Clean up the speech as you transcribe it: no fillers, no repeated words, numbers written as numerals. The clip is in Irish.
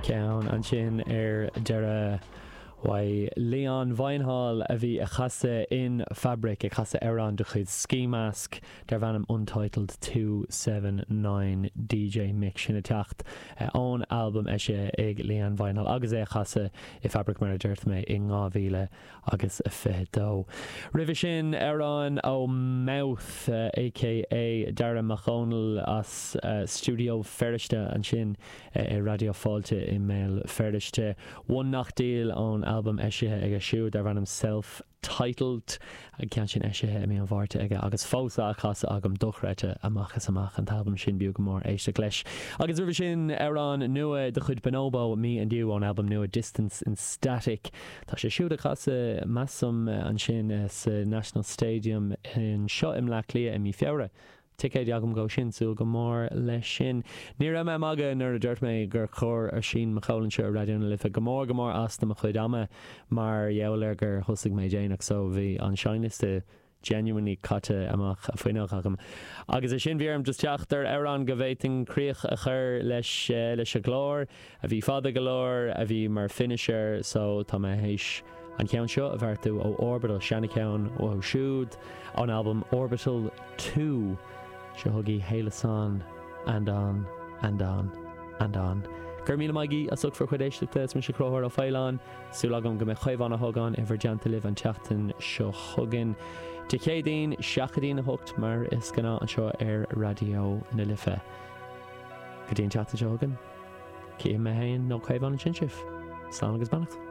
Ceann ansin ar deireadh uaidh Leon Vynehall a bhí ag casadh in Fabric, ag casadh amhrán de chuid Skee Mask darb ainm Untitled 279 DJ Mix. Sin ag teacht ón albam eisithe ag Leon Vynehall agus é ag casadh i Fabric mar a dúirt mé in 2000 agus 22. Roimhe sin, amhrán ó Mouth, aka Darragh Mac Dhónaill as Stiúideo Feirste ansin i Raidió Fáilte i mBéal Feirste. One Knock Deal ón albam eisithe aige siúd darb ainm Self Titled. An ceann sin eisithe i mí an Mhárta aige agus fós á chasadh agam, dochreidte amach is amach an t-albam sin, b'fhiú go mór éisteacht leis. Agus roimhe sin, amhrán nua de chuid Bonobo, Me and You ón albam nua Distance in Static. Tá sé siúd ag casadh, measaim, ansin sa National Stadium anseo i mBleá Cliath i mí Feabhra. Ticéid agam dhó sin, súil go mór leis sin. Ní raibh mé ag magadh nuair a dúirt mé gur chuir Oisín McCole anseo ar Raidió na Life go mór go mór as do mo chuid ama mar gheall ar gur thosaigh mé déanach so bhí an seinnliosta genuinely caite amach an fhuinneog agam. Agus é sin, bhí orm just teacht ar amhrán go bhféadfainn críoch a chur leis leis an gclár, a bhí fada go leor, a bhí mar finisher, so tá mé théis an ceann seo a bheartú ó Orbital, seana-cheann uathu siúd, ón albam Orbital 2. Seo chugaibh Hailesson and on and on and on. Go raibh míle maith agaibh as ucht bhur chuid éisteachta, is mise Conchúr Ó Faoláin. Súil agam go mbeidh Caomhán Ó hÓgáin i bhur dteannta libh an tseachtain seo chugainn, Dé Céadaoin, 7 go dtí'n 8 mar is gnáth anseo ar Raidió na Life. Go dtí an tseachtain seo chugainn, cífidh mé féin nó Caomhán ansin sibh. Slán agus beannacht.